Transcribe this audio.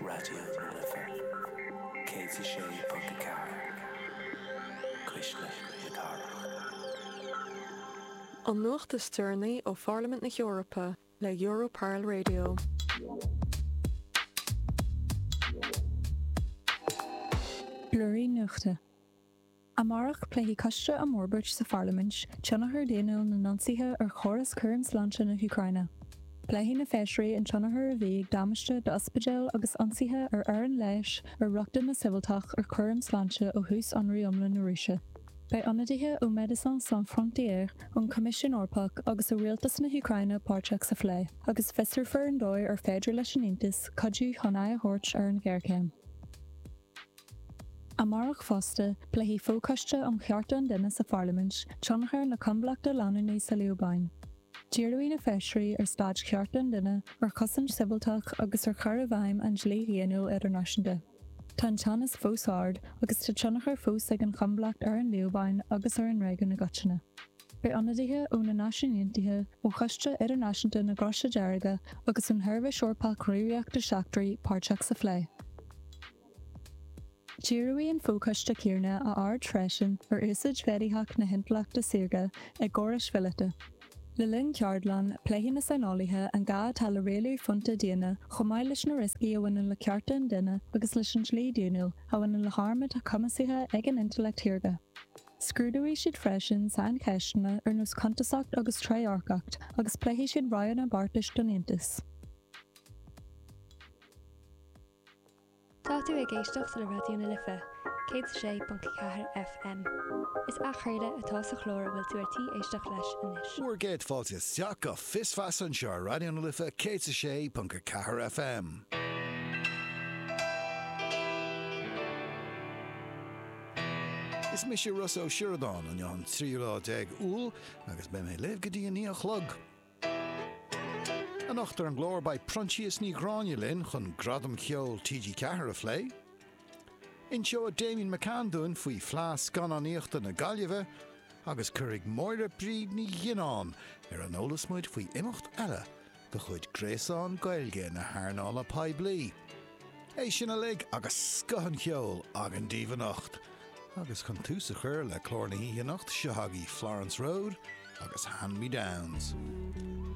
Raidió na Life 106.4, Cuisle na Cathrach. An nuacht is deireanaí ó Pharlaimint na hEorpa le Europarl Radio. Blúirín Nuachta. Amárach, pléifidh Coiste um Fhorbairt sa Pharlaimint tionchar daonnúil na n-ionsaithe ar chóras cúraim sláinte na hÚcráine. Pléifidh na feisirí an tionchar a bhí ag damáiste d'ospidéil agus ionsaithe ar fhoireann leighis ar rochtain na sibhialtach ar chúram sláinte ó thús ionradh iomlán na Rúise. Beidh ionadaithe ó Médecins Sans Frontières, ón Choimisiún Eorpach agus ó rialtas na hÚcráine páirteach sa phlé, agus fiosrófar an dóigh ar féidir leis an Aontas cuidiú chun aghaidh a thabhairt ar an ghéarchéim. Amárach fosta, pléifidh Fochoiste um Chearta an Duine sa Pharlaimint tionchar na coinbhleachta leanúnaí sa Liobáin. Díreoidh na feisirí ar staid chearta an duine, ar chosaint sibhialtach agus ar chur i bhfeidhm an dlí dhaonnúil idirnáisiúnta. Tá an teannas fós ard agus tá tionchar fós ag an choinbhleacht ar an Liobáin agus ar an réigiún i gcoitinne. Beidh ionadaithe ó na Náisiúin Aontaithe, ó Choiste Idirnáisiúnta na gCroise Deirge agus ón Sheirbhís Eorpach Gníomhaíochta Seachtraí páirteach sa phlé. Díreoidh an fochoiste céanna a aird freisin ar úsáid mhéadaitheach na hintleachta saorga i gcórais mhíleata. Le linn ceardlann, pléifidh na saineolaithe an gá atá le rialú fónta daonna chomh maith leis na rioscaí a bhaineann le cearta an duine agus leis an dlí daonnúil a bhaineann le hairm atá cumasaithe ag an intleacht shaorga. Scrúdóidh siad freisin saincheisteanna ar nós cuntasacht agus trédhearcacht agus pléifidh siad roghanna beartais don Aontas. Tá tú ag éisteacht le Raidió na Life 106.4 FM. Is athchraoladh atá sa chlár a bhfuil tú ar tí éisteacht leis anois. Bhur gcéad fáilte isteach go Fios Feasa anseo ar Raidió na Life 106.4 FM. Is mise Rossa Ó Sioradáin, inniu an tríú lá déag Iúil agus beidh mé libh go dtí a 9 a chlog. Anocht ar an gclár beidh Proinsias Ní Ghráinne linn chun Gradaim Cheoil TG4 a phlé. Inseoidh Damian McCann dúinn faoi Fleadh Scannánaíochta na Gaillimhe agus cuirfidh Máire Bríd Ní Ghionnáin ar an eolas muid faoi imeacht eile de chuid Gréasán Gaeilge na hEarnála Poiblí. É sin uilig agus scoth an cheoil againn daoibh anocht. Agus chun tús a chur le clár na hoíche anocht, seo agaibh Florence Road agus Hand Me Downs.